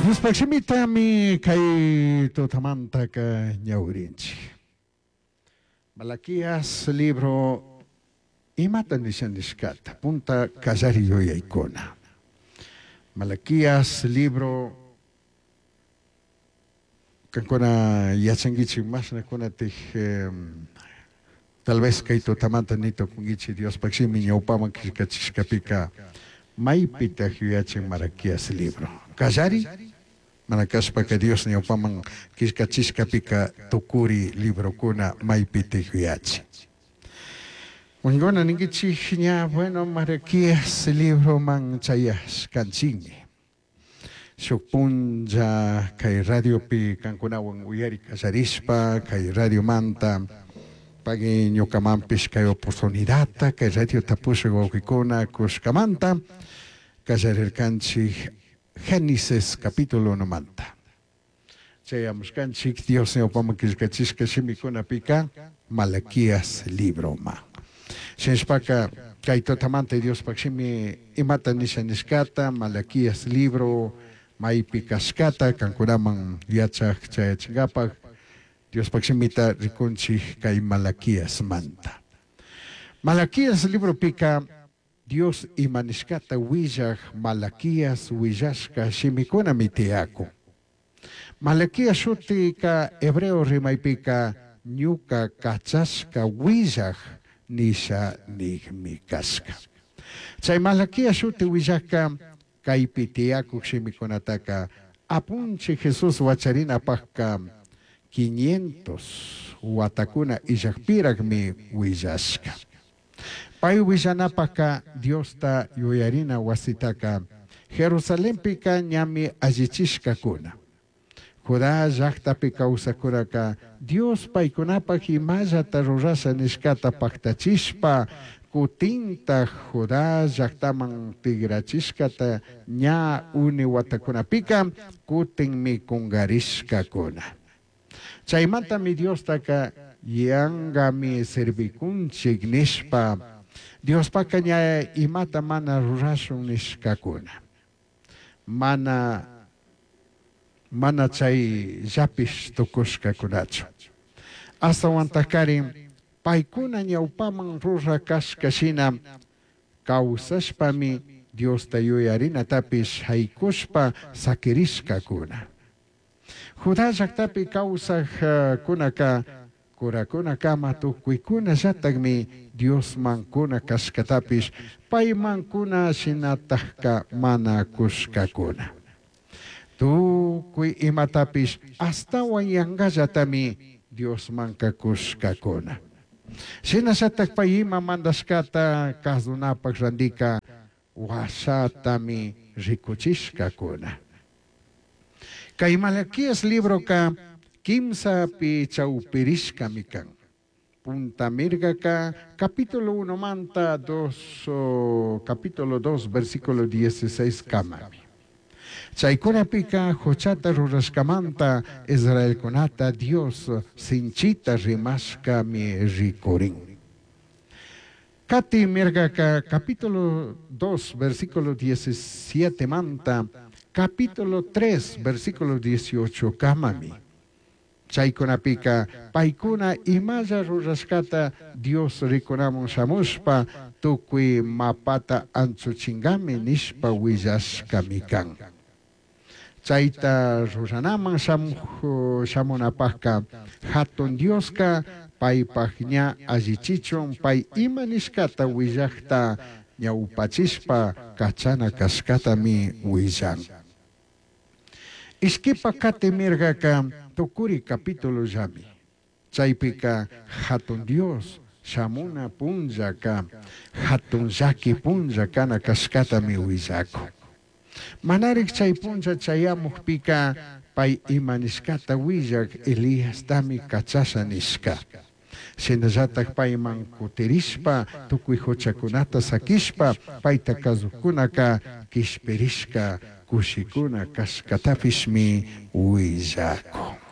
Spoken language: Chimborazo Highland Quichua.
Diospaj shimitami kay tutamantaka ñawirinchik. Malaquías libro imata nisha nishkata punta kallari yuyaykuna. Malaquías libro kankuna yachankichik mashnakunatik tal vez kay tutamanta ni tukunkichik Diospaj shimi ñawpaman killkachishkapika maypitaj yuyachin Malaquías libro. Kallari mana kashpaka Dios ñawpaman killkachishkapika tukuri librokuna maypitaj yuyachin. Wakinkuna ninkichik ña bueno Malaquías libroman chayashkanchikmi. Shuk punlla kay radiopi kankunawan uyari kallarishpa kay radiomanta pagui ñukamanpish kay oportunidadta kay radiota pushak wawkikuna kushkamanta kallarirkanchik Génesis capítulo 1manta. Chayamushkanchik Dios ñawpaman killkachishka shimikunapika Malaquías libroma. Shinashpaka kay tutamanta Diospaj shimi imata nisha nishkata Malaquías libro maypi kashkata kankunaman yachaj chayachinkapak Diospaj shimita rikunchik kay Malaquiasmanta. Malaquías libropika Dios ima nishkata willaj Malaquías willashka shimikunami tiyakun. Malaquías shutika hebreo rimaypika ñuka kachashka willaj nisha nijmi kashka. Chay Malaquías shuti willajka kaypi tiyakuk shimikunataka apunchik Jesús wacharinapajka 500 watakuna illajpirajmi willashka. Pay willanapajka Diosta yuyarina wasitaka Jerusalenpika ñami allichishkakuna. Judá llaqtapi kawsakuraka Dios paykunapaj imallata rurasha nishkata paktachishpa kutintaj Judá llaqtaman tigrachishkata ña uni watakunapika kutinmi kungarishkakuna. Chaymantami Diostaka yangami servikunchik nishpa Diospaka ña imata mana rurashun nishkakuna. Mana chay llapish tukushkakunachu. Ashtawantajkarin paykuna ñawpaman rurakashka shina kawsashpami Diosta yuyarinatapish haykushpa sakirishkakuna. Judá llaqtapi kawsajkunaka kurakunakama tukuykunallatakmi Diosman kuna kashkatapish payman kuna shinatajka mana kushkakuna. Tukuy imatapish ashtawan yangallatami Diosmanka kushkakuna. Shinallatak pay ima mandashkata kasunapak randika washatami rikuchishkakuna. Kay Malaquías libroka kimsapi chawpirishkami kan. Punta mirgaka capítulo 1 manta 2, capítulo 2 versículo 16 kamami. Chaykunapika huchata rurashkamanta Israelkunata Dios sinchita rimashkami rikurin. Kati mirgaka capítulo 2 versículo 17 manta capítulo 3 versículo 18 kamami. Chaykunapika paykuna imalla rurashkata Dios rikunamun shamushpa tukuy mapata anchuchingami nishpa willashkami kan. Chayta ruranaman shamunapajka hatun Dioska paypaj ña allichichun pay ima nishkata willajta ñawpachishpa kachana kashkatami willan. Ishkipa kati mirgaka tukuri capítulo llami. Chaypika hatun Dios shamuna punllaka hatun llaki punlla kana kashkatami willakun. Manarik chay punlla chayamukpika pay ima nishkata willak Eliastami kachasha nishka. Shinallatak payman kutirishpa tukuy huchakunata sakishpa payta kasukunaka kishpirishka kushikuna kashkatapishmi willakun.